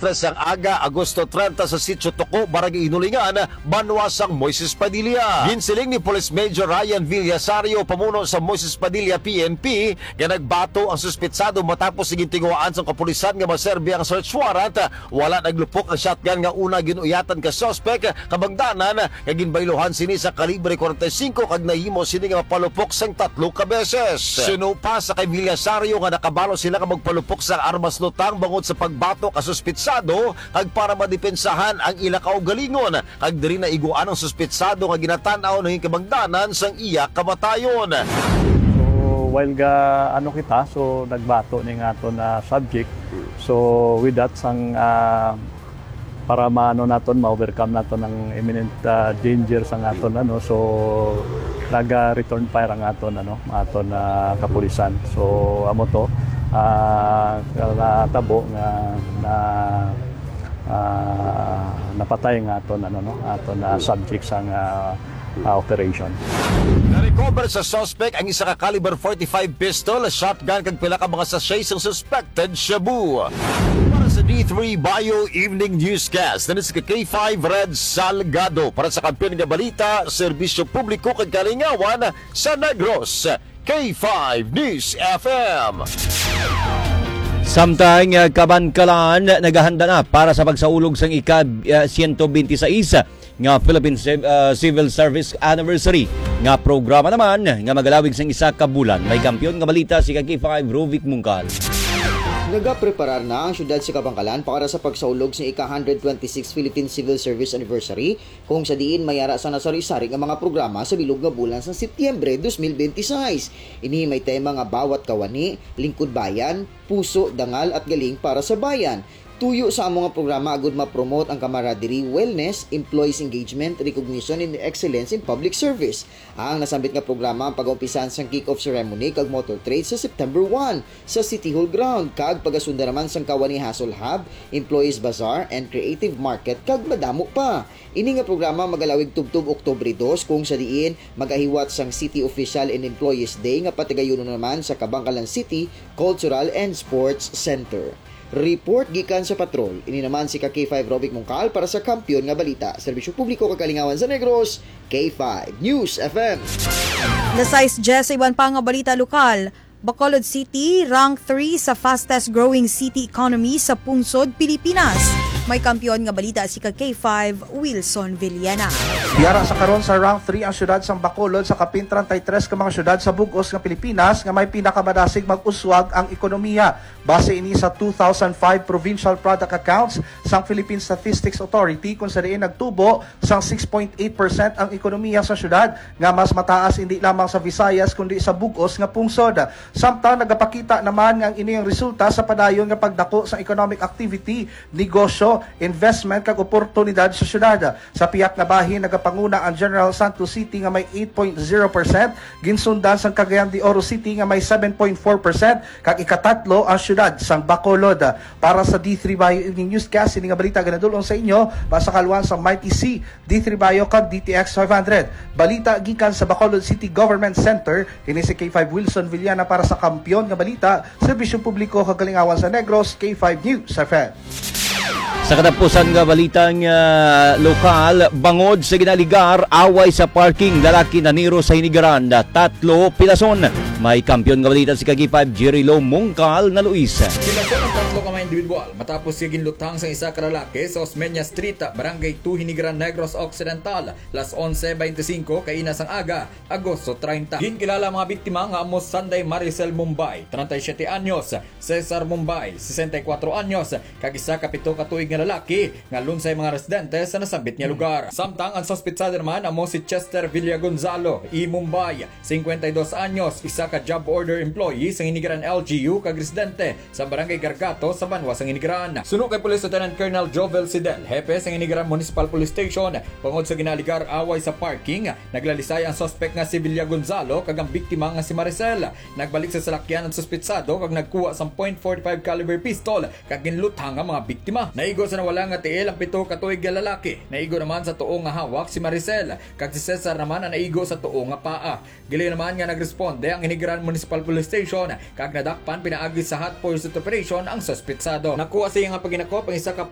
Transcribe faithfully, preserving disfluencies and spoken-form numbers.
Tres sang aga, Agosto treinta, sa Sitio Tuko, Barangay Hinulingan, banwa sang Moises Padilla. Ginsiling ni Police Major Ryan Villasario, pamuno sa Moises Padilla P N P, nga nagbato ang suspitsado matapos sa gintinguhaan sang kapulisan nga maserbi ang search warrant. Wala naglupok ang shotgun nga una ginuyatan ka suspek, kabangdanan nga ginbayluhan sini sa kalibre forty-five kag nahimo sini nga mapalupok sang tatlo ka beses. Suno pa sa kay Villasario nga nakabalo sila nga magpalupok sang armas lutang bangod sa pagbato ka suspitsado kag para madepensahan ang ila kaugalingon, kag diri naiguan ang suspitsado nga ginatan-aw nangin kabangdanan sang iya kamatayon. So, while ga ano kita, so nagbato ni nga aton ah, subject. So, with that sang ah, para maano naton, ma-overcome naton ang imminent ah, danger sa aton ano. So, naga-return fire ang aton ano, aton ah, kapulisan. So, amo to ah, natabo nga na ah, napatay nga aton ano no, aton ah, subject sang ah, ah, operation. Na-recover sa suspect ang isa ka caliber forty-five pistol, shotgun kag pila ka mga sachet sang suspected shabu. Para sa D three Bio Evening Newscast, nani si K five Red Salgado para sa Kampiyon nga Balita, Serbisyo Publiko kag Kalingawan sa Negros, K five News F M. Samtang uh, Kabankalan nagahanda na para sa pagsaulog sang ika uh, siyento benti sais nga Philippine Civ- uh, Civil Service Anniversary nga programa naman nga magalawig sang isa ka bulan. May kampiyon nga balita si ka K five Ruvic Mungkal. Nagapreparar na ang syudad sa Kabankalan para sa pagsaulog sa ika one hundred twenty-six Philippine Civil Service Anniversary, kung sa diin may ara sa nasari-sari nga mga programa sa bilog nga bulan sa Setyembre twenty twenty-six. Ini may tema nga Bawat Kawani, Lingkod Bayan, Puso, Dangal at Galing para sa Bayan. Tuyo sa amo nga programa agud ma-promote ang camaraderie, wellness, employees engagement, recognition, and excellence in public service. Ang nasambit nga programa ang pag-umpisan sang kick-off ceremony kag motor trade sa September one sa City Hall Ground, kag pagasunda naman sang Kawani Hustle Hub, Employees Bazaar, and Creative Market, kag madamo pa. Ini nga programa magalawig tubtob Oktubre dos, kung sa diin magahiwat sang City Official and Employees Day nga patigayunon naman sa Kabankalan City Cultural and Sports Center. Report gikan sa Patrol. Ini naman si ka K five Robic Mungkal para sa Kampiyon nga Balita, Serbisyo Publiko kag Kalingawan sa Negros, K five News F M. Alas sais diyes sa iban pa nga balita lokal. Bacolod City, rank three sa fastest growing city economy sa pungsod Pilipinas. May kampiyon nga balita si ka K five Wilson Villena. Yara sa karon sa rank three ang siyudad sang Bacolod sa kapin treinta y tres ka mga siyudad sa bug-os nga Pilipinas nga may pinakamadasig mag-uswag ang ekonomiya. Base ini sa two thousand five Provincial Product Accounts sang Philippine Statistics Authority, kung sa diin nagtubo sang six point eight percent ang ekonomiya sa syudad, nga mas mataas indi lamang sa Visayas kundi sa bug-os nga pungsod. Samtang nagapakita naman nga ang ini ang resulta sa padayon nga pagdako sa economic activity, negosyo, investment kag oportunidad sa syudad. Sa pihak nga bahin, nagapanguna ang General Santos City nga may eight point zero percent, ginsundan sang Cagayan de Oro City nga may seven point four percent, kag ikatatlo ang siyudad sang Bacolod. Para sa D three Bio Evening Newscast, ini nga balita ginadul-ong sa inyo pa sa kaluan sa Mighty C, D three Bio kag D T X five hundred. Balita gikan sa Bacolod City Government Center, ini si K five Wilson Villana para sa Kampiyon nga Balita, Serbisyo Publiko kag Kalingawan sa Negros, K five News F M. Sa katapusan nga balitang ah, lokal, bangod sa ginaligar, away sa parking, lalaki naniro sa hinigaran, tatlo pilason. May kampiyon nga balita si ka K five Jerry Lo Mungkal na Luis. Pilason ang tatlo ka mga individual matapos siya ginluthang sang isa ka lalaki sa Osmeña Street, Barangay two, Hinigaran, Negros Occidental, las onse beintisinko kaina sang aga, Agosto treinta. Ginkilala ang mga biktima nga amo Sanday Maricel Mumbay, treinta y siete anyos, Cesar Mumbay, sesenta y cuatro anyos, kag isa ka pito ka tuig nga lalaki nga lunsay mga residente sa nasambit nga lugar. Samtang ang suspitsado naman amo si Chester Villagonzalo, E. Mumbay, cincuenta y dos anyos, isa ka job order employee sa Hinigaran L G U kag residente sa Barangay Gargato sa banwa sa Hinigaran. Suno kay Police Lieutenant Colonel Jovel Sidel, hepe sa Hinigaran Municipal Police Station, bangod sa ginaligar away sa parking, naglalisay ang suspek nga si Villagonzalo kag ang biktima nga si Maricel. Nagbalik sa salakyan ang suspitsado kag nagkuha sang point forty-five caliber pistol kag ginluthang ang mga biktima. Naigo sa nawala nga tiil ang pito ka tuig nga lalaki. Naigo naman sa tuo nga hawak si Maricel kag si Cesar naman ang naigo sa tuo nga paa. Gali naman nga nagresponde ang Hinigaran Municipal Police Station kag nadakpan pinaagi sa hot pursuit operation ang suspitsado. Nakuha sa iya nga paginakop ang isa ka